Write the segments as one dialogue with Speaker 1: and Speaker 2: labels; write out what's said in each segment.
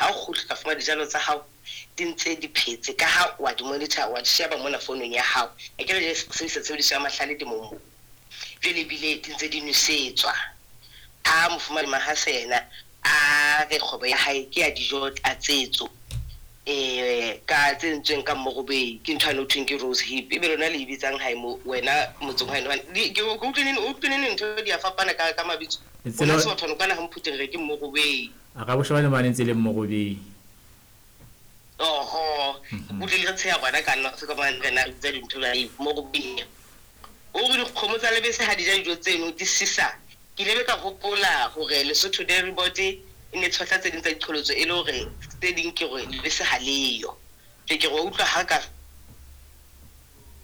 Speaker 1: Ha o kgutla ka fumana dijalo tsa hao di ntse di phetse ka ha wa di monitor, wa di sheba mona founung ya hao. Akere jwale sebedisa tshebediso ya mahlale temong moo. Jwale ebile di ntse di nwesetswa. Ha Mofumahadi Mahase yena a re kgwebo ya hae ke ya dijo tlatsetso ka tse entsweng ka mmorobei, ke ntho yane ho thweng ke rose hip, ebe lona le e bitsang hae mo wena motseng wa heno? Hobane ke utlwe neng, o utlwe neng ntho di a fapana ka mabitso. Rona Sebathwane kwana ha Mphuteng re ke mmorobei.
Speaker 2: A ka boshebane mane ntse e le mmorobei.
Speaker 1: Oho, utlwe le re tsheha gona ka nna se ka mane rena re bitsa dintho jwale mmorobei. O re dikgomo tsa lebese ha di ja dijo tseno di sisa. Ke ile be ka hopola hore Lesotho Dairy Board e ne tshohla tse ding tsa diqholotso e le hore tse ding ke hore lebese ha leyo. Ke ke re wa utlwa ha ka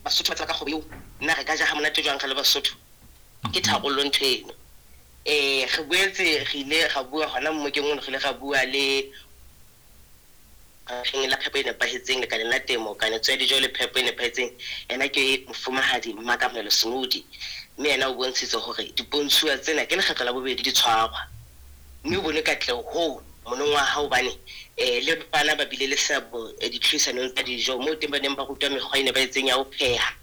Speaker 1: Basotho ba tseba ka kgwebo eo, na re ka ja ha monate jwang re le Basotho? Ke tharollo ntho eno. Re boetse re ile ra bua hona mmokeng ono, re ile ra bua le Lefapheng la Phepo e Nepahetseng Lekaleng la Temo, Kanetso ya Dijo le Phepo e Nepahetseng, yena ke Mofumahadi Mmakamohelo Smodi, mme yena o bontshitse hore dipontshuwa tsena ke lekgetlo la bobedi di tshwarwa, mme o bone katleho hoo monongwaha hobane le bana ba bile le seabo ditlhodisanong tsa dijo moo teng ba neng ba rutwa mekgwa e nepahetseng ya ho pheha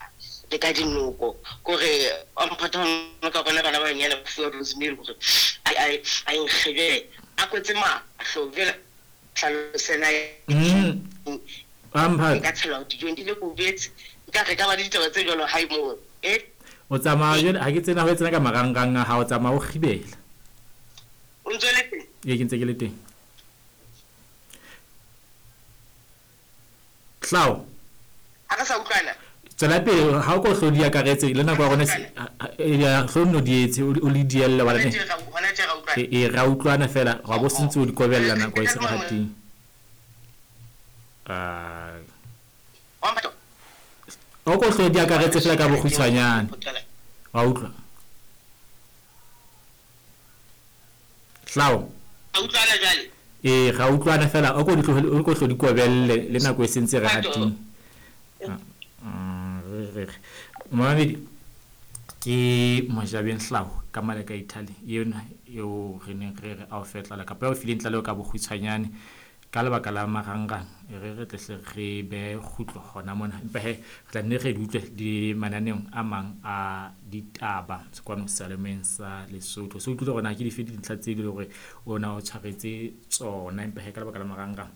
Speaker 1: le ka dinoko. Ke hore wa mphatha ka bona bana ba banyane ba fuwa rosemary hore a e nkge jwale a kwetse mahlo jwale hlalosela e ka tshelwa dijong di le kobetse nka re ka ba le ditaba tse jwalo hae moo e
Speaker 2: O tsamaya jwale ha ke tsena ho tsena ka marangrang a hao, o tsamaya o kgibela.
Speaker 1: O ntse le teng?
Speaker 2: Ee, ke ntse ke le teng. Hlao.
Speaker 1: Ha re sa utlwana.
Speaker 2: Tswela pele ha o ko hlo di akaretse le nako ya rona ya hlo nno di etse o le dielle wa
Speaker 1: le. Hona tje ra utlwana.
Speaker 2: E ra utlwana fela wa bo sentse o di kobella nako e se re hating. O ko hlo di akaretse fela ka bokgutshwanyane. Wa utlwa. Hlao.
Speaker 1: A utlwana jwale?
Speaker 2: Ee, ra utlwana fela o ko di tlohele, o ko hlo di kobelle le nako e sentse re hating. Momamedi ke Mojabeng Hlao ka mane ka Italy ena eo re neng re re a o fe tlala kapa eo fileng tlaleho ka bokgutshwanyane ka lebaka la marangrang e re re tle re be kgutlo hona mona, empa he re tla nne re di utlwe le mananeong a mang a ditaba kwano seyalemoyeng sa Lesotho. So utlwile hore na ke dife dintlha tse le hore ona o tshwaretse tsona, empa he ka lebaka la marangrang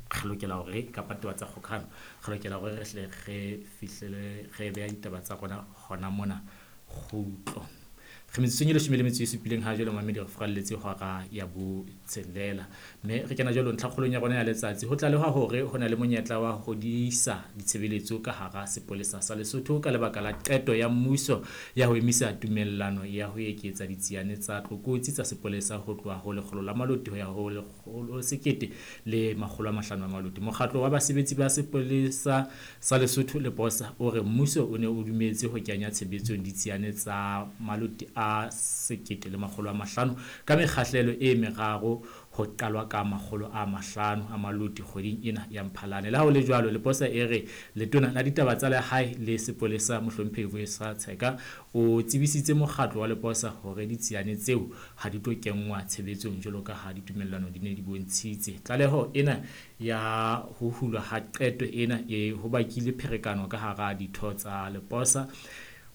Speaker 2: re lokela hore kapa taba tsa kgokahano re lokela hore re hle re fihlele re beha ditaba tsa rona hona mona kgutlo. Re metsotsong e 17 ha jwale mamedi re furalletse hora ya botshelela, mme re kena jwalo ntlhakgolong ya rona ya letsatsi. Ho tlalehwa hore ho na le monyetla wa ho diisa ditshebeletso ka hara sepolesa sa Lesotho ka lebaka la qeto ya mmuso ya ho emisa tumellano ya ho eketsa ditsiane tsa tlokotsi tsa sepolesa ho tloha ho 100 la maloti ho ya ho 1500 a maloti. Mokgatlo wa basebetsi ba sepolesa sa Lesotho le Posa o re mmuso o ne o dumetse ho kenya tshebetsong ditsiane tsa maloti a 1500 ka mekgahlelo e meraro ho qalwa ka 500 a maloti kgweding ena ya Mphalane. Le ha ho le jwalo, Leposa e re letona la ditaba tsa lehae le sepolesa Mohlomphehi Vuyiswa Tsheka o tsebisitse mokgatlo wa Leposa hore ditsiane tseo ha di tlo kenngwa tshebetsong jwalo ka ha ditumellano di ne di bontshitse. Tlaleho ena ya ho hulwa ha qeto ena e ho bakile pherekano ka hara ditho tsa Leposa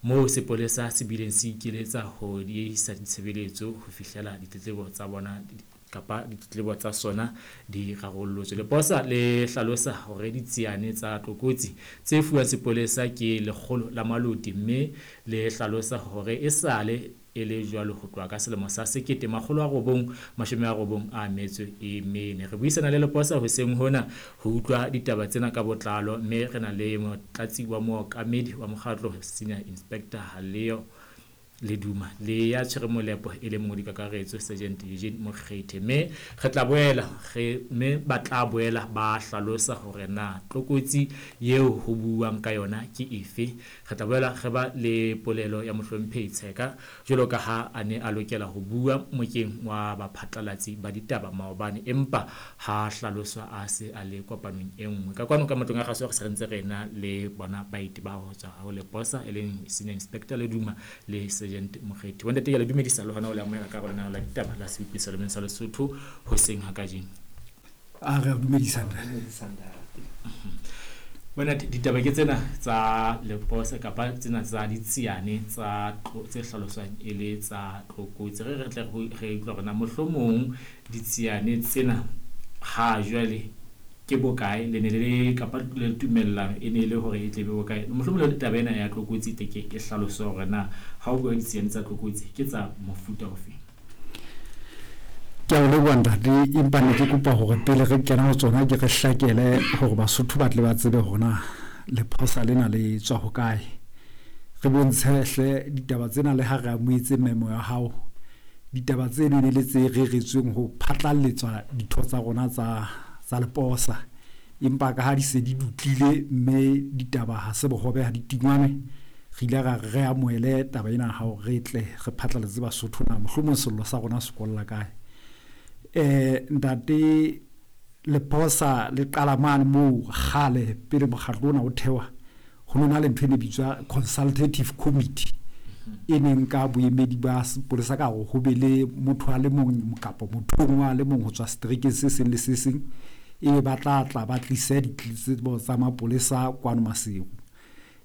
Speaker 2: moo sepolesa se bileng se ikeletsa ho diehisa ditshebeletso ho fihlela ditletlebo tsa bona kapa ditletlebo tsa sona di rarollotswe. Leposa le hlalosa hore ditsiane tsa tlokotsi tse fuwang sepolesa ke 100 la maloti, mme le hlalosa hore esale e le jwalo ho tloha ka selemo sa 1994. Re buisana le Leposa hoseng hona ho utlwa ditaba tsena ka botlalo, mme re na le motlatsi wa mookamedi wa mokgatlo Senior Inspector Leo Leduma le ya tshwere molepo e le mongodi kakaretso Sergeant Eugene Mokgethe, mme re tla boela re mme ba tla boela ba hlalosa hore na tlokotsi eo ho buuwang ka yona ke efe. Re tla boela re ba le polelo ya Mohlomphehi Tsheka jwalo ka ha a ne a lokela ho bua mokeng wa baphatlalatsi ba ditaba maobane, empa ha hlaloswa a se a le kopanong e nngwe. Ka kwano ka matlong a kgaso re se re ntse re na le bona baeti ba ho tswa ho Leposa e leng Senior Inspector Leduma le Sergeant Mokgethi. Bontate, ke a le dumedisa le hona ho le amohela ka lenaneo la ditaba la Seupisa Lemeng sa Lesotho hoseng ha kajeno.
Speaker 3: A re a dumedisa ntate.
Speaker 4: Dumedisa ntate.
Speaker 2: Bona ditaba ke tsena tsa Leposa kapa tsena tsa ditsiane tsa tse hlaloswang e le tsa tlokotsi. Re re tle re utlwa hore na mohlomong ditsiane tsena ha jwale ke bokae, le ne le le kapa le tumellano e ne e le hore e tle be bokae. Mohlomong le taba ena ya tlokotsi e tle ke e hlaloswe hore na ha o bua ditsiane tsa tlokotsi ke tsa mofuta ofe.
Speaker 3: Ke a o leboha ntate, empa ne ke kopa hore pele re kena ho tsona ke re hlakele hore Basotho ba tle ba tsebe hore na lephosa lena le tswa hokae. Re bontshe hle ditaba tsena le ha re amohetse memo ya hao. Ditaba tseno ne le tse reretsweng ho phatlalletswa ditho tsa rona tsa tsa leposa. Empa ka ha di se di dutlile mme ditaba ha se bohobe ha di tingwane, re ile ra re amohele taba ena ya hao re tle re phatlaletse Basotho na mohlomong sello sa rona se kolla kae. Ntate Leposa le qala mane moo kgale pele mokgatlo ona o thewa, ho no na le ntho e ne bitswa consultative committee e neng ka boemedi ba sepolesa ka hore ho be le motho a le mong kapa motho o a le mong ho tswa seterekeng se seng le se seng, ebe ba tla tla ba tlise ditletlebo tsa mapolesa kwano Maseru.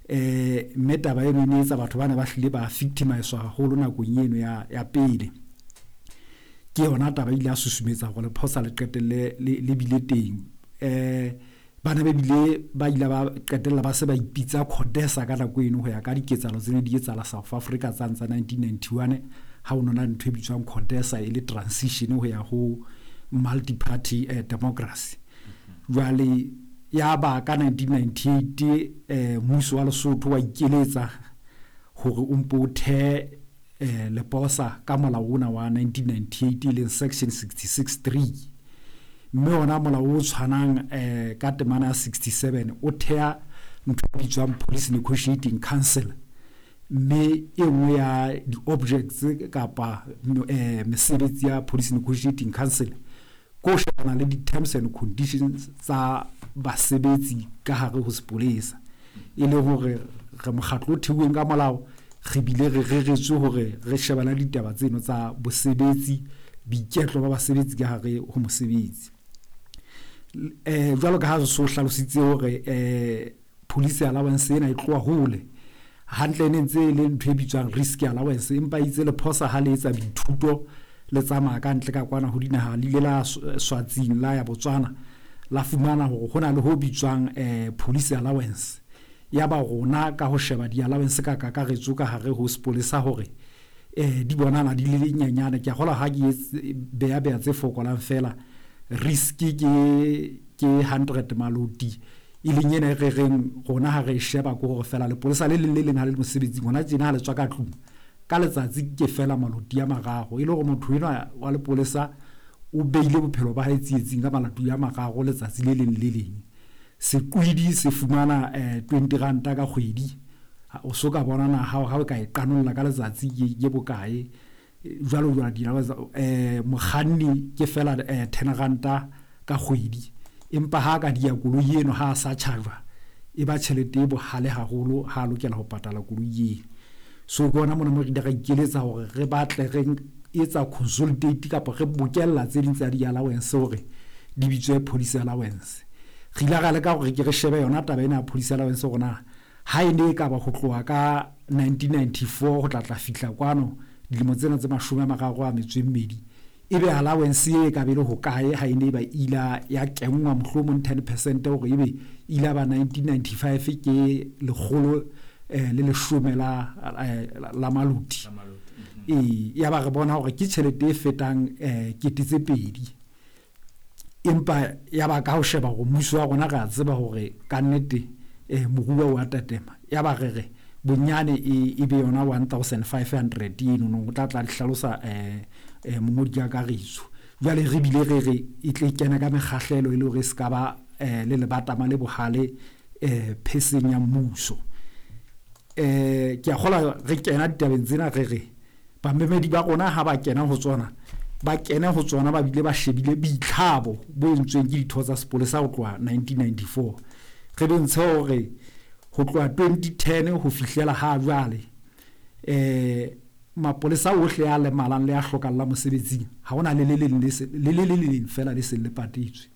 Speaker 3: Mme taba eno e ne etsa batho bana ba hlile ba victimiswa haholo nakong eno ya pele. Ke yona taba ile ya susumetsa hore lephosa le qetelle le bile teng. Bana ba bile ba ile ba qetella ba se ba ipitsa CODESA ka nako eno ho ya ka diketsahalo tse ne di etsahala South Africa tsane tsa 1991, ha ho nona ntho e bitswang CODESA e le transition ho ya ho multi-party democracy. Jwale ya ba ka 1998 mmuso wa Lesotho wa ikeletsa hore o mpo o thehe leposa ka molao ona wa 1998 e leng section 66(3, mme ona molao o tshwanang ka temana ya 67 o theha ntho e bitswang Police Negotiating Council, mme e nngwe ya di-objects kapa mesebetsi ya Police Negotiating Council ko shebana le di-terms and conditions tsa basebetsi ka hare ho sepolesa, e le hore re mokgatlo o theuweng ka molao, re bile re reretswe hore re shebana le ditaba tseno tsa bosebetsi, boiketlo ba basebetsi ka hare ho mosebetsi. Jwalo ka ha re so hlalositse hore police allowance ena e tloha hole hantle, e ne ntse e le ntho e bitswang risk allowance, empa itse lephosa ha le etsa boithuto le tsamaya ka ntle ka kwana ho dinaha, le ile la Swatsing, la ya Botswana, la fumana hore ho na le ho bitswang police allowance. Ya ba rona ka ho sheba di-allowance ka kakaretso ka hare ho sepolesa hore di bonahala di le nyenyane. Ke a kgolwa ha ke beya beya tse fokolang fela, risk ke 100 maloti, e leng ena e re reng rona ha re e sheba ke hore fela lepolesa le leng le leng ha le le mosebetsing hona tjena ha le tswa ka tlung ka letsatsi ke fela maloti a mararo, e le hore motho enwa wa lepolesa o beile bophelo ba hae tsietsing ka maloti a mararo letsatsi le leng le leng. Sekwidi se fumana 20 ranta ka kgwedi, o so ka bona na ha o ka e qanolla ka letsatsi ke bokae, jwalo jwalo di mokganni ke fela 10 ranta ka kgwedi, empa ha ka dia koloi eno ha a sa charge-wa e ba tjhelete e bohale haholo ha a lokela ho patala koloi eno. So ke hona mona mo re ile ra ikeletsa hore re batle re etsa consolidate kapa re bokella tse ding tsa di-allowance hore di bitswe police allowance. Re ile ra leka hore ke re shebe yona taba ena ya police allowance hore na ha e ne e ka ba ho tloha ka 1994 ho tla tla fihla kwano dilemo tsena tse 32, ebe allowance e ka be le hokae ha e ne ba ila ya kenngwa mohlomong 10% hore ebe ila ba 1995 ke lekgolo le leshome la maloti. Ya ba re bona hore ke tjhelete e fetang 2000, empa ya ba ka ho sheba hore mmuso wa rona re a tseba hore ka nnete moruo wa tatema, ya ba re re bonyane e be yona 1500 eno no o tla tla hlalosa mongodi ka kakaretso. Jwale re bile re re e tle kena ka mekgahlelo e le hore e se ka ba le lebatama le bohale pheseng ya mmuso. Ke a kgolwa re kena ditabeng tsena re re bamemedi ba rona ha ba kena ho tsona, ba kene ho tsona ba bile ba shebile boitlhabo bo entsweng ke ditho tsa sepolesa ho tloha 1994. Re bontshe hore ho tloha 2010 ho fihlela ha jwale mapolesa ohle a lemalang le a hlokallang mosebetsing ha hona le le leng le le le leng fela le seng le patetswe.